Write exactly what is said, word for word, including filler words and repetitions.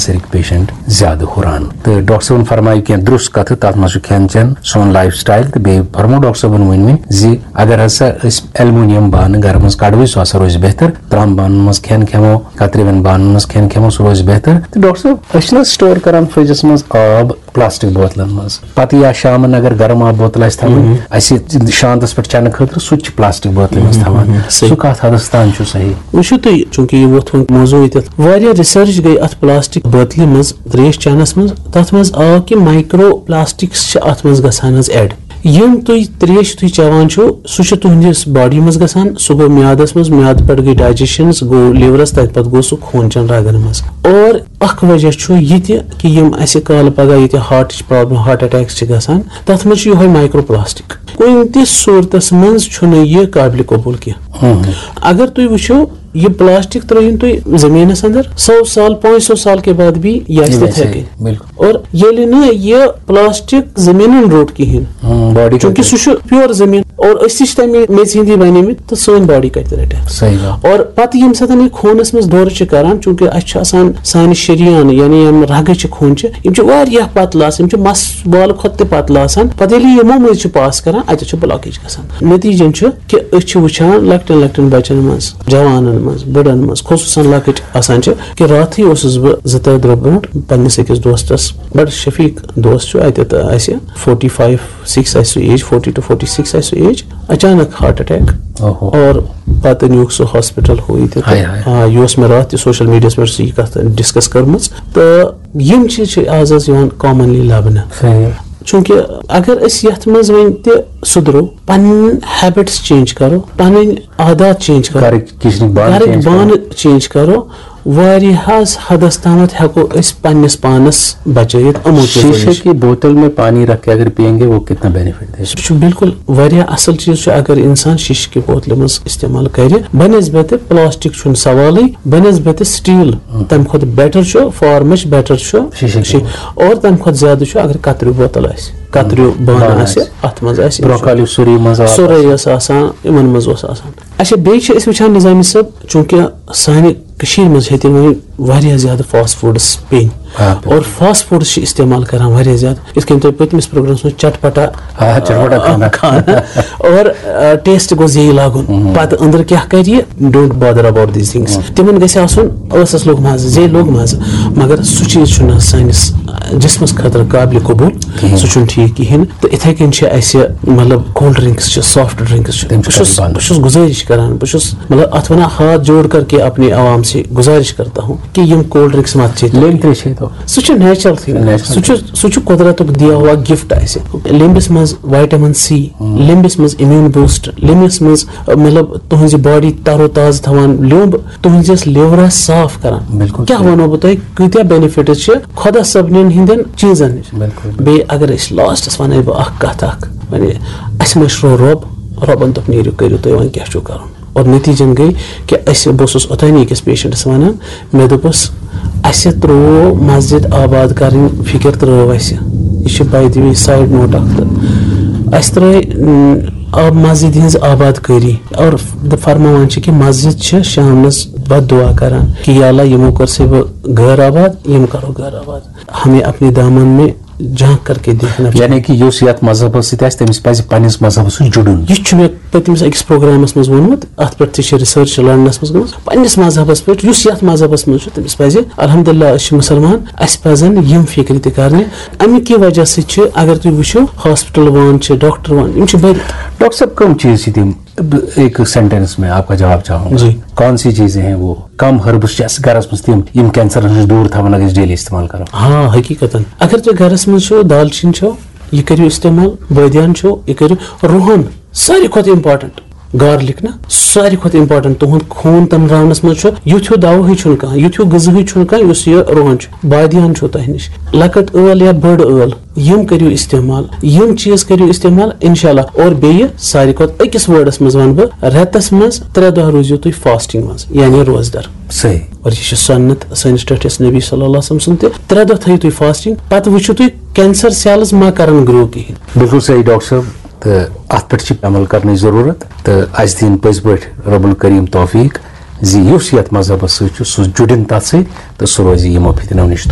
کینسرٕکۍ patient زیادٕ ہُران۔ تہٕ ڈاکٹر صٲبن فرمایہِ کینٛہہ درٛوس کتھٕ، تتھ منٛز چھُ کھٮ۪ن چٮ۪ن، سون لایف سٹایل، تہٕ بیٚیہِ فرمو ڈاکٹر صٲبن وۄنۍ وۄنۍ زِ اگر ہسا أسۍ ایلومینیم بانہٕ گرٕ منٛز کڑوٕے، سُہ ہسا روزِ بہتر۔ ترام بانن منٛز کھٮ۪ن کھٮ۪مو، کترِوٮ۪ن بانن منٛز کھٮ۪ن کھٮ۪مو، سُہ روزِ بہتر۔ تہٕ ڈاکٹر صٲب، أسۍ چھِنہٕ حظ سٹور کران فرجس منٛز آب پلاسٹک بوتلن منٛز؟ پتہٕ یا شامن اگر گرم آب بوتل آسہِ تھاوٕنۍ، مہم۔ اسہِ شانتس پٮ۪ٹھ چٮ۪نہٕ خٲطرٕ، سُہ تہِ چھِ پلاسٹک بوتلہِ منٛز مہم، تھاوان۔ مہم، صحیح۔ سُہ کتھ حدس تام چھُ صحیح؟ وٕچھِو تُہۍ، چوٗنٛکہِ یہِ ووٚتھ وۄنۍ موضوعٕے تتھ، واریاہ ریسرچ گٔے اتھ پلاسٹک بوتلہِ منٛز تریش چٮ۪نس منٛز۔ تتھ منٛز آو کہِ مایکرو پلاسٹکس چھِ اتھ منٛز گژھان حظ ایڈ۔ یِم تُہۍ تریش تُہۍ چٮ۪وان چھِو، سُہ چھُ تُہنٛدِس باڈی منٛز گژھان، سُہ گوٚو میادس منٛز، میادٕ پٮ۪ٹھ گٔے ڈایجیشن، سُہ گوٚو لیورس، تتہِ پتہٕ گوٚو سُہ خوٗن چٮ۪ن رگن منٛز۔ اور اکھ وجہ چھُ یہِ تہِ کہِ یِم اسہِ کالہٕ پگاہ ییٚتہِ ہارٹٕچ پرابلم، ہارٹ اٹیکس چھِ گژھان، تتھ منٛز چھُ یِہوٚے مایکرو پلاسٹک۔ کُنہِ تہِ صوٗرتس منٛز چھُنہٕ یہِ قابلِ قبوٗل کینٛہہ۔ ہم۔ اگر تُہۍ وٕچھِو، یہِ پلاسٹک ترٲیِن تُہۍ زٔمیٖنَس اندر، سو سال، پانٛژھ سو سال کے بعد بھی یہِ آسہِ یہِ تِتھَے ویسے، کٔنۍ۔ بِلکُل۔ اور ییٚلہِ نہٕ یہِ پلاسٹک زٔمیٖنَن روٚٹ کِہیٖنۍ، ہم، باڈی چوٗنٛکہِ کَتہِ؟ سُہ چھُ پیور زٔمیٖن، اور أسۍ تہِ چھِ تَمہِ میٚژِ ہِنٛدی بَنیمٕتۍ، تہٕ سٲنۍ باڈی کَتہِ رَٹہِ؟ صحیح بات۔ اور پَتہٕ ییٚمہِ ساتہٕ یہِ خوٗنَس منٛز دورٕ چھِ کَران، چوٗنٛکہِ اَسہِ چھُ آسان سانہِ شریان، یعنی یِم رَگہٕ چھِ خوٗنچہِ، یِم چھِ واریاہ پَتلہٕ آسان، یِم چھِ مَس والہٕ کھۄتہٕ تہِ پَتلہٕ آسان۔ پَتہٕ ییٚلہِ یہِ یِمو مٔنٛزۍ چھِ پاس کَران، اَتہِ چھُ بلاکیج گژھان۔ نتیٖجَن چھُ کہِ أسۍ چھِ وٕچھان لۄکٹٮ۪ن لۄکٹٮ۪ن بَچَن منٛز، جوانَن منٛز، بٕڑَن منٛز، خصوٗصاً لۄکٕٹۍ آسان چھِ، کہِ راتھٕے اوسُس بہٕ زٕ ترٛےٚ دۄہ برونٛٹھ پنٛنِس أکِس دوستَس، بَڑٕ شفیٖق دوست چھُ اَتٮ۪تھ اَسہِ، فورٹی فایِو سِکِس آسہِ سُہ age, forty two forty six آسہِ سُہ ایج، اچانک ہارٹ اٹیک۔ اوہو۔ اور پَتہٕ نیوٗکھ سُہ ہاسپِٹل ہُہ یہِ تہِ۔ ہاے ہاے۔ آ، یہِ اوس مےٚ راتھ تہِ سوشل میٖڈیاہَس پٮ۪ٹھ سُہ یہِ کَتھ ڈِسکس کٔرمٕژ۔ تہٕ یِم چیٖز چھِ آز آز یِوان کامنلی لَبنہٕ۔ صحیح۔ چوٗنٛکہِ اگر أسۍ یَتھ منٛز وۄنۍ تہِ سُدھرو، پَنٕنۍ ہیبٹس چینج کَرو، پَنٕنۍ عادات چینج کَرو، گَرٕکۍ کِچنٕکۍ بانہٕ گَرٕکۍ چینج کَرو۔ بانہٕ چینج کَرو، واریاہَس حدس تامَتھ ہٮ۪کو أسۍ پنٛنِس پانَس بچٲیِتھ یِمو چیٖزو شیشے نِش۔ کی بوتل میں پانی رکھ کے اگر پیئیں گے، وہ کتنا بینیفٹ دے؟ سُہ چھُ بِلکُل واریاہ اَصٕل چیٖز چھُ، اگر اِنسان شیشہِ کہِ بوتلہِ منٛز اِستعمال کَرِ، بنسبتِ پلاسٹک چھُنہٕ سوالٕے، بنسبتِ سٹیٖل ہم۔ تَمہِ کھۄتہٕ بیٹر چھُ، فار مچ بیٹر چھُ شیشے کی شی-، بوتل۔ اور تَمہِ کھۄتہٕ زیادٕ چھُ اگر کتریو بوتل آسہِ، کتریو بانہٕ بانہٕ آسہِ، آسہِ۔ اَتھ منٛز آسہِ برونٛہہ کالہِ یُس سورُے منٛز آو سورُے آسان۔ ٲس آسان، یِمن منٛز اوس آسان۔ اچھا، بیٚیہِ چھِ أسۍ وٕچھان نظامی صٲب، چوٗنٛکہِ سانہِ کٔشیٖرِ منٛز ہیٚتہِ وۄنۍ واریاہ زیادٕ فاسٹ فوڈس پیٚنۍ۔ آ، بِلکُل۔ اور فاسٹ فوڈس چھِ استعمال کران واریاہ زیادٕ، یِتھ کٔنۍ تۄہہِ پٔتمِس پروگرامس منٛز چٹپٹا، آ، چٹپٹا آ، کھانا۔ کھانا۔ اور، آ، ٹیسٹ گوٚژھ یی لگُن۔ مہم۔ پتہٕ أنٛدرٕ کیٛاہ کرِ یہِ؟ Don't bother about these things۔ مہم۔ تِمن گژھِ آسُن ٲسس لوٚگ مزٕ، زے لوٚگ مزٕ، مگر سُہ چیٖز چھُنہٕ سٲنِس، آ، جسمس خٲطرٕ قابلِ قبول۔ کِہیٖنۍ۔ سُہ چھُنہٕ ٹھیٖک کِہیٖنۍ۔ تہٕ اِتھَے کٔنۍ چھِ اَسہِ، مطلب، کولڈ ڈرٛنٛکٕس چھِ، سافٹ ڈرٛنٛکٕس چھِ۔ تِم چھِ بہٕ چھُس، کَرٕنۍ بنٛد۔ بہٕ چھُس گُزٲرِش کران، بہٕ چھُس، مطلب، اَتھ وَنان ہاتھ جوڑ کر کے اپنے عوام سے گُزارِش کرتا ہوں کہ یِم کولڈ ڈرٛنٛکٕس مت چیٚیِو۔ لیٚمبۍ ترٛیش چیٚیِو۔ سُہ چھُ نیچرل تھِنٛگ۔ نیچرل۔ سُہ چھُ، سُہ چھُ قۄدرتُک دِیا ہوا گفٹ اَسہِ۔ لیٚمبِس منٛز وایٹمن سی، ہُم۔ لیٚمبِس منٛز امیوٗن بوٗسٹ، لیٚمبِس منٛز، مطلب، تُہٕنٛزِ باڈی تر و تازٕ تھاوان لیوٚمب، تُہٕنٛزِس لِورَس صاف کران۔ بِلکُل کیٛاہ صحیح۔ وَنو بہٕ تۄہہِ، کۭتیٛاہ بینِفٹٕس چھِ خۄدا صٲبنٮ۪ن ہِنٛدٮ۪ن چیٖزَن نِش۔ بِلکُل۔ بیٚیہِ اگر أسۍ لاسٹَس وَنَے بہٕ اَکھ کَتھ اَکھ، وَنے، اَسہِ مٔشرو رۄب، رۄبَن دوٚپ، "نیٖرِو، کٔرِو تُہۍ وۄنۍ کیٛاہ چھُو کَرُن؟" اور نتیٖجَن گٔے کہِ اَسہِ، بہٕ اوسُس اوٚتانۍ أکِس پیشنٹَس وَنان، مےٚ دوٚپُس، اَسہِ ترٛوو مسجد آباد کَرٕنۍ فِکِر، ترٛٲو اَسہِ۔ یہِ چھِ by the way side note اَکھ۔ تہٕ اَسہِ ترٛٲے، م، آب، مسجد ہِنٛز آباد کٲری۔ اور فرماوان چھِ کہِ مسجد چھِ شامنَس بد دعا کران کہ یا اللہ، یِمو کٔر سا بہٕ غٲر آباد، یِم کرو غٲر آباد۔ ہمیں اپنے دامن میں جھانک کر کے دیکھنا چاہیے۔ یعنی کہ یُس یتھ مذہبس سۭتۍ آسہِ، تٔمِس پزِ پننِس مذہبس سۭتۍ جُڑُن۔ یہِ چھُ مےٚ پٔتمِس أکِس پروگرامس منٛز ووٚنمُت، اتھ پٮ۪ٹھ تہِ چھِ ریسرچ لنڈنس منٛز گٔمٕژ۔ پننِس مذہبس پٮ۪ٹھ، یُس یتھ مذہبس منٛز چھُ، تٔمِس پزِ، الحمدللہ، أسۍ چھِ مسلمان، اسہِ پزن یِم فکرِ تہِ کرنہِ۔ امہِ کہِ وجہ سۭتۍ چھِ، اگر تُہۍ وٕچھِو، ہاسپٹل وان چھِ، ڈاکٹر وان، یِم چھِ بٔرِتھ۔ ڈاکٹر صٲب، کم چیز چھِ تِم؟ ایک سینٹینس میں آپ کا جواب چاہوں گا۔ جی۔ کون سی چیزیں ہیں وہ کم ہربس چھِ اَسہِ گرس منٛز تِم، یِم کینسر نِش دوٗر تھاوان اگر أسۍ ڈیلی استعمال کرو؟ ہاں، حقیقتاً۔ اگر تُہۍ گرس منٛز چھِو، دالچیٖن چھو، یہِ کٔرِو استعمال، بٲدیان چھو، یہِ کٔرِو، رُہن، ساروی کھۄتہٕ امپارٹنٹ، گارلِک نا، ساروی کھۄتہٕ امپارٹنٹ۔ تُہُنٛد خوٗن تٔمبراونس منٛز چھُ، یُتھ ہیوٗ دوا ہٕے چھُنہٕ کانٛہہ، یُتھ ہیوٗ غذا ہٕے چھُنہٕ کانٛہہ، یُس یہِ رُہن چھُ۔ بٲدیان چھو تۄہہِ نِش، لۄکٕٹ ٲل یا بٔڑ ٲل، یِم کٔرِو استعمال، یِم چیٖز کٔرِو استعمال، انشاءاللہ۔ اور بیٚیہِ ساروی کھۄتہٕ أکِس وٲڈس منٛز وَنہٕ بہٕ، رٮ۪تس منٛز ترٛےٚ دۄہ روٗزِو تُہۍ فاسٹنگ منٛز، یعنی روزدر۔ صحیح۔ اور یہِ چھِ سنت سٲنِس ٹٲٹھِس نبی صلی اللہ علیہ وسلم سُنٛد تہِ، ترٛےٚ دۄہ تھٲیِو تُہۍ فاسٹنگ، پتہٕ وٕچھِو تُہۍ کینسر سیلز ما کرن گرو کِہیٖنۍ۔ بِلکُل صحیح ڈاکٹر صٲب، تہٕ اتھ پٮ۪ٹھ چھِ عمل کرنٕچ ضروٗرت، تہٕ اسہِ دِن پٔزۍ پٲٹھۍ رب الکریم توفیق زِ یُس یتھ مذہبس سۭتۍ چھُ، سُہ جُڑِن تتھ سۭتۍ تہٕ سُہ روزِ یِمو فتنو نِش دوٗر۔